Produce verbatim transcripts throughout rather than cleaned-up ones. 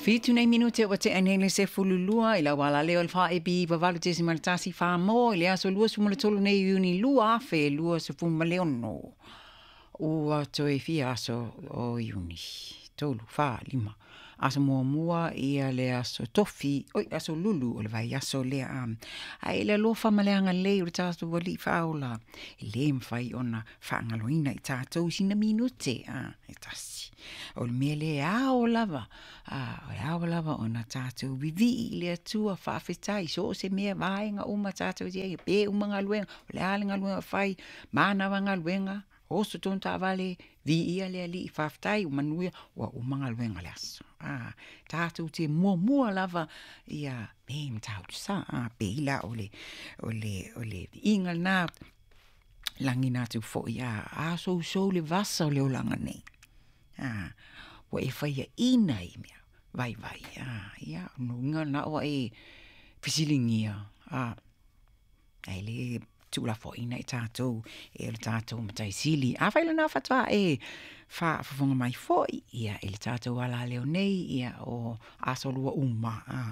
Fitu nei minute ua tea nei le sefululua i lau alaleo o le faa-E B valu tesima le tasi Samoa i le aso lua sefulu ma le tolu nei Iuni lua afe lua sefulu ma le ono. Ua toe fia aso o Iuni? Tolu, fa, lima. Aso muamua ia le aso tofi, oi, aso lulu o le vaiaso lea. um, Ae le alofa ma le agalelei o le tatou Alii Faaola, e lē mafai ona faagaloina i tatou sina minute a e tasi. O le mea lea ao lava, a o le ao lava ona tatou vivii i le Atua faafetai so o se mea vaega uma tatou te ai pe uma galuega, o le a le galuega fai, manava galuega, oso tonu taavale, viia le Alii, faafetai ua manuia ua uma galuega le aso. A tatou te muamua lava ia me matautu sa a pei la o le o le o le viiga lena lagina atu foi a a sousou le vasa o le olaga nei. A ua e faiaʻina i mea vaivai a ia nuiga na ua e fesiligia a ae lē tuulafoaiina i tatou e o le tatou mataisili. Afai lena faatoa e faafofoga mai foi ia i le tatou alaleo nei, ia o aso lua uma a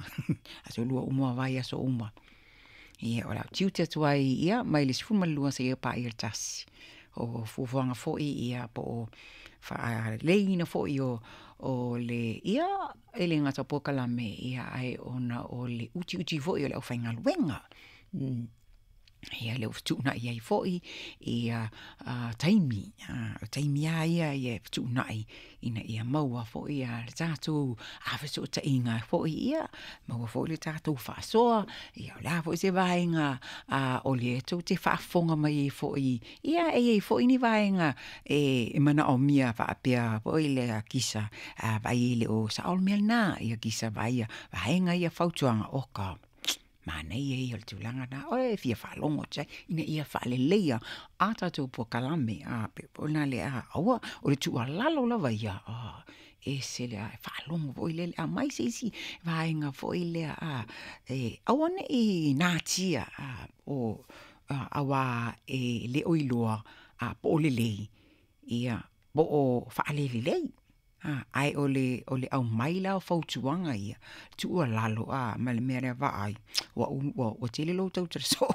aso lua uma vaiaso uma ia o le tiute atu ai ia mai le sefulu ma le lua seia paia le tasi. O fuafuaga foi ia po o faaleleiina foi o o le ia e le gata o polokalame ia ae ona o le utiuti foi o le aufaigaluega mm. Ia le ua fetuunai ai foi ia uh, taimi uh, o taimi a ia ia fetuunai ina ia maua foi ia le tatou afesootaiga foi ia maua foi le tatou faasoa ia o le a foi se vaega uh, o le tou te faafofoga mai ai foi ia e iai foi ni vaega e, e manaomia faapea foi le kisa uh, vai e le o sao le mea lena ia kisa vaia vaega ia fautuaga o ka manaia ia o le tulaga na o e fia faalogo atu ai ina ia faaleleia a tatou polokalame a pe ona le a aua o le tuualalo lava ia a ese le a faalogo foi lele aumai se isi vaega foi lea a e aua nei natia a o auā e le o iloa a po o lelei ia po o faalelelei a ae o le o le aumai la o fautuaga ia tuualalo a ma le mea lea vaai ua ua ua tele lou tautala soo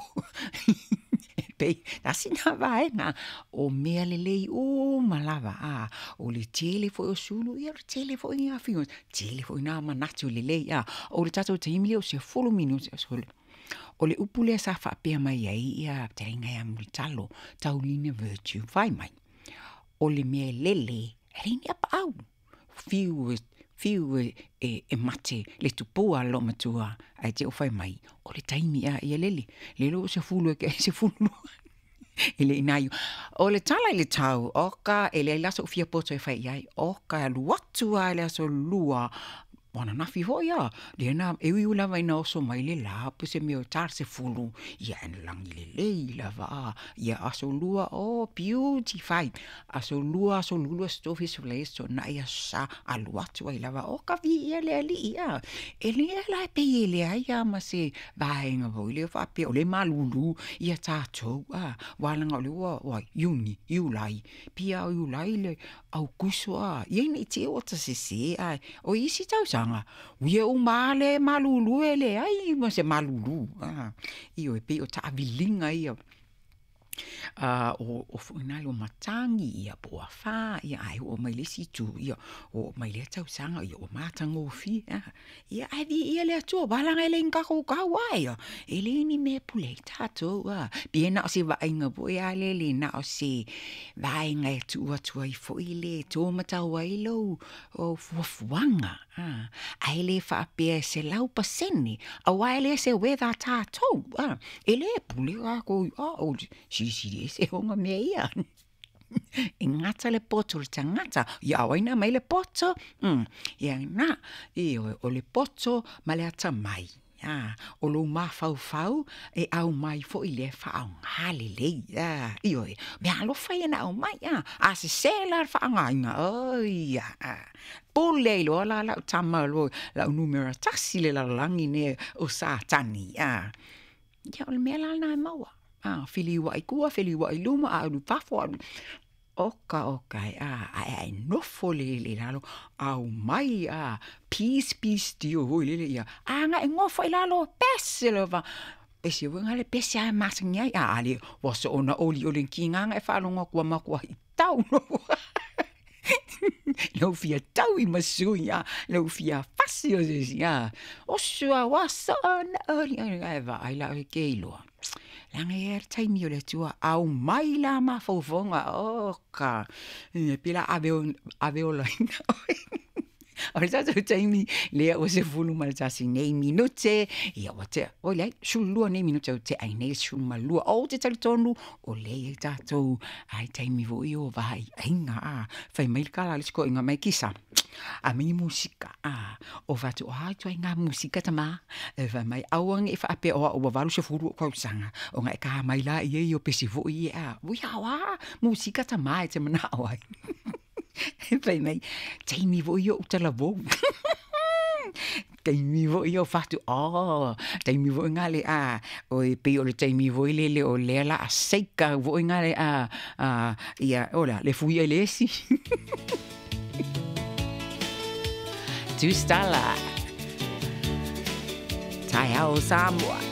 pei tasi na vaega o mea lelei uma lava a o le tele foi o sulu ia o le tele foi ni afioga tele foi nā manatu lelei a o le tatou taimi lea o sefulu minute o le upu lea sa faapea mai ai ia fetalaiga ia Mulitalo Taulina Virtue fai mai o le mea lele e leai ni apaau fiu e fiu e, e, e mate le tupua a matua ae te o fai mai o le taimi a ia lele lele o sefulu e ke sefulu lua e le ina o le tala i le tau o ka e le laso fia poto e fai ai o ka alu atu a le aso lua ananafi foi a lena e ui lava ina oso mai le la pe se mea o tar sefulu ia e lagi lelei lava a ia aso lua o beautify aso lua aso lulu aso tofi aso le aso na ia sa alu atu ai lava o ka viia le Alii a e le la e pei e leai a ma se vaega foi lea faapea o le malulu ia tatou a walaga o le ua ua Iuni, Iulai pia o Iulai le Aukuso a ia ina i te ua tasese a o isi tausaga uia uma le malulu e leai ma se malulu a ioe pei o taaviliga ia uh, o, o foi o matagi ia po o afā ia ae oo mai le isi itu ia oo mai lea tausaga ia ua matagofie a ia ae viia le Atua walaga e le kaukau ai ia e le ni mea pule ai tatou a pei na o se vaaiga foi a le le na o se vaega e tuu atu ai foi le tō ai lou o fuafuaga a ae le faapea e selau pasene auā e le se weather tatou a e le pule kākou a o silisili ese ona mea ia e gata le poto o le tagata ia o ai na mai le poto mm. Ia na ioe o le poto ma le atamai a o lou mafaufau e aumai foi lea faaaogā lelei a ioe mea alofa ia na aumai a a sesē la le faaaogāina oi a pule ai loa la lau tama lo lau numera tasi le lalolagi nei o Satani a ia o le mea la lena e maua a feliuaʻi tua feliuaʻi luma a alu fafo alu Oka oka e a ae ae nofo le le lalo au mai a peace peace dio foi lele ia aga e gofo i lalo pese lava pese ua le pese a masangi ai a ale ua soona oli oli kigaga e faalogo atu ua matuai tau no lau fia tau i masui a lau fia fasi o se isi a oso a ua soona oli ae vaai la oe ke iloa leaga e i ai le taimi o le Atua aumai la mafaufauga oka e pei la ave ave olaina oe o le tatou taimi lea ua sefulu ma le tasi nei minute ia ua tea oi leai sefululua nei minute ua tea ai nei le sefulu ma lua ou te talitonu o lea e i ai tatou ai taimi foi o vaaiaiga a fai mai le tala a le isi toeaina mai kisa a mai musika a o fatu o a ituaiga musika tamā e fai mai aua ne i faapea o au ua valu sefulu ou tausaga ona e ka mai laia ia o pesi foi ia a ui a o a musika tamā e te manao ai fai mai taimi foi ia o ou talavou taimi foi ia o fatu oh taimi foi lena le a oi pei o le taimi foi lele o lea la a seika foi lena le a a ia o le a le fui ai le esi Tusitala Taeao Samoa.